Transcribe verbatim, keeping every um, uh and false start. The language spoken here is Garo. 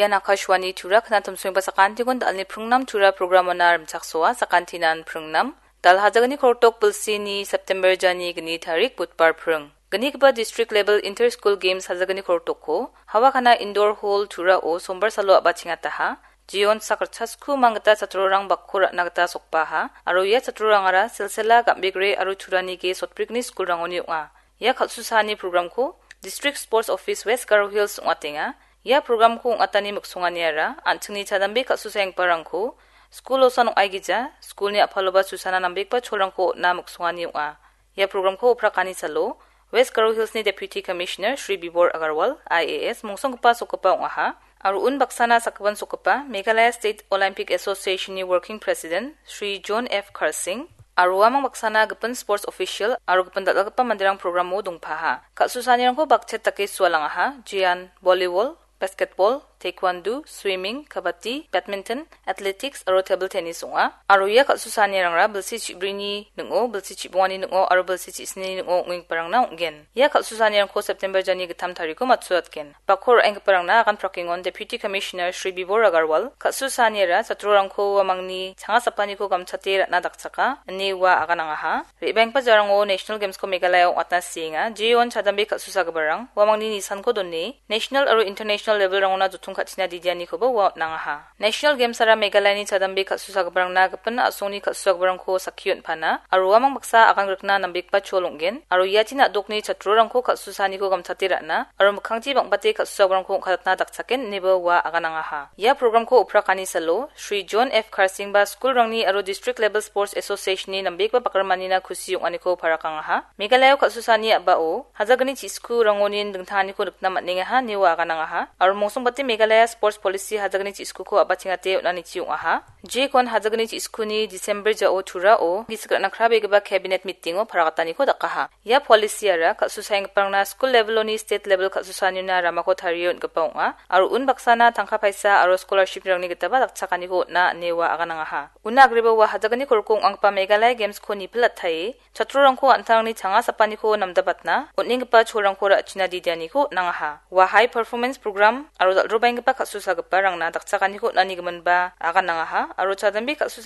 Ian Akashvani Tura knatimsoengba sakantikon dal·ni pringnam Tura programona rimchaksoa, sakantinan pringnam. Dal hajagni kortok bilsini September jani gni tarik budbar pring. Gnigipa District Level Inter School Games hajagni kortokko Hawakana Indoor Hall Turao sombar salo a·bachengataha. Jeon sak ritchasku manggita chatrorang bakko ra·na gita sokbaha, aro ia chatrorangara Silsela, Gambegre aro Turanige sotbrikni skulrangoni ong·a. Ia kal·susaani programko District Sports Office West Garo Hills ong·atenga. Ia programko ong·atani miksonganiara an·chingni chadambe kal·susaenggiparangko skul osan ong·aigija, skulni a·paloba susana nambegipa cholrangko on·na miksongani ong·a. Ia programko oprakani salo West Garo Hillsni Deputy Commissioner Shri Bibor Agarwal, I A S, mongsonggipa sokgipa ong·aha. Aro unbaksana sakgipin sokgipa Meghalaya State Olympic Association-ni Working President Shri John F Karsing, aro uamang baksana gipin sports official aro gipin dal·dalgipa manderang programo dongpaha. Kal·susaanirangko bakchet dake sualangaha, jean, volleyball, basketball, taekwondo, swimming, kabaddi, badminton, athletics aro table tennis ong·a. Aro ia kal·susaanirangra bilsi chibrini ning·o, bilsi chibongani ning·o aro bilsi chisnini ning·o ong·enggiparangna ong·gen. Ia kal·susaanirangko September jani gittam tariko matchoatgen. Bakko ra·enggiparangna agan prakengon Deputy Commissioner Shri Bibor Agarwal, kal·susaaniara chatrorangko uamangni changasapaniko gamchate ra·na dakchaka, ine ua aganangaha. Re·baenggipa jarango National Games-ko Meghalaya ong·atna sienga. Jeon chadambe kal·susagiparang uamangni nisanko done, national aro international level-rangona jottong ka·tina didianikoba ua on·angaha. National Games-ara Meghalayani chadambe kal·susagiparangna gipin a·songni kal·susagiparangko sakki on·pana, aro uamang baksa agan grikna nambegipa chol ong·gen, aro iachin a·dokni chatrorangko kal·susaaniko gamchate ra·na, aro mikkangchi bang·bate kal·susagiparangko ong·katna dakchaken, ineba ua aganangaha. Ia programko oprakani salo, Shri John F Karsingba skulrangni aro District Level Sports Association-ni nambegipa bakrimanina kusi ong·aniko parakangaha. Meghalaya kal·susaani a·bao, hajagni chiskurangonin dingtanganiko nikna man·engaha, ine ua aganangaha. Aro mongsongbate Meghalaya Sports Policy hajagni chiskuko a·bachengate on·anichi ong·aha. Jekon hajagni chiskuni December jao Turao gisik ra·na krabegipa cabinet meeting-o paragataniko dakaha. Ia policy-ara kal·susaenggiparangna skul level-oni state level kal·susaanina ramako tarie on·gipa ong·a, aro unbaksana tangka paisa aro scholarship-rangni gitaba dakchakaniko on·a ine ua aganangaha. Una agreba ua hajagni korko ong·anggipa Meghalaya Games-ko nipilatae chatrorangko an·tangni changasapaniko namdabatna on·enggipa cholrangko ra·china didianiko on·angaha. Ua high performance program aro dal·drobaenggipa kal·susagiparangna dakchakaniko on·ani giminba aganangaha, aro chadambe kal·susa